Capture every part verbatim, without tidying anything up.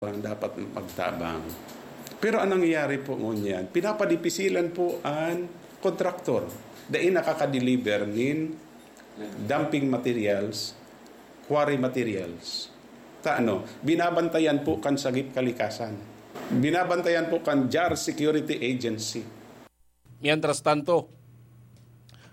dapat magtabang. Pero anong nangyayari po ngunyan? Pinapadipisilan po ang kontraktor. Dai nakakadeliver nin dumping materials, quarry materials. Ta ano, binabantayan po kan Sagip Kalikasan. Binabantayan po kan JAR Security Agency. Mientras tanto,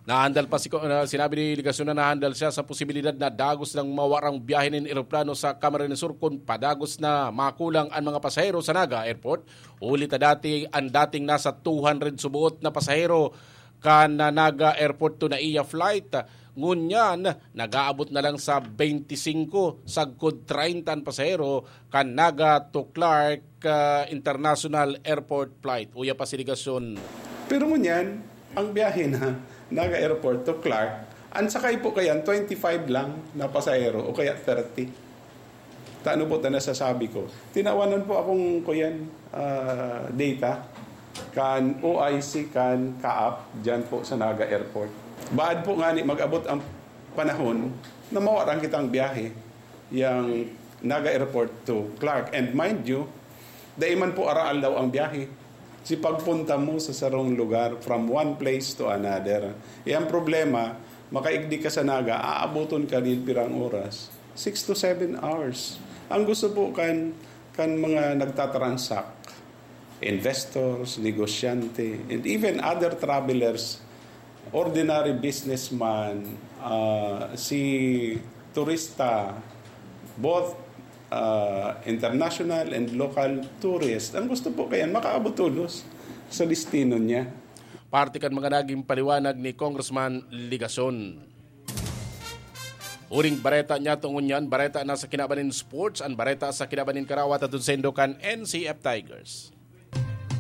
nahandal pa si, na sinabi ni Legacion na nahandal siya sa posibilidad na dagos nang mawarang biyahe nin eroplano sa Camarines Sur kun padagos na makulang an mga pasahero sa Naga Airport. Huli ta dati, ang dating nasa two hundred subuot na pasahero kan Naga Airport to Naia flight. Ngunyan, nag-aabot na lang sa twenty-five sagkod treinta an pasahero kan Naga to Clark ah, International Airport flight. Uya pa si Legacion. Pero ngunyan, ang biyahe na Naga Airport to Clark, ang sakay po kayan, twenty-five lang na pasahero o kaya thirty. Tano po ta nasasabi ko. Tinawanan po akong kuyan, ah, data kan O I C, kan CAAP, dyan po sa Naga Airport. Baad po nga ni mag-abot ang panahon na mawaran kitang biyahe, yang Naga Airport to Clark. And mind you, dai man po araal daw ang biyahe. Si pagpunta mo sa sarong lugar from one place to another. E ang problema, makaigdi ka sa Naga, aaboton ka nin pirang oras? Six to seven hours. Ang gusto po kan, kan mga nagtatransact, investors, negosyante, and even other travelers, ordinary businessman, ah, si turista, both ah, international and local tourist, ang gusto po kayan, makaabot tolos sa destino niya. Parte kan mga naging paliwanag ni Congressman Legacion. Uring bareta niya tungon yan, bareta na sa kinaban nin sports, ang bareta sa kinaban nin karawat at sendo kan N C F Tigers.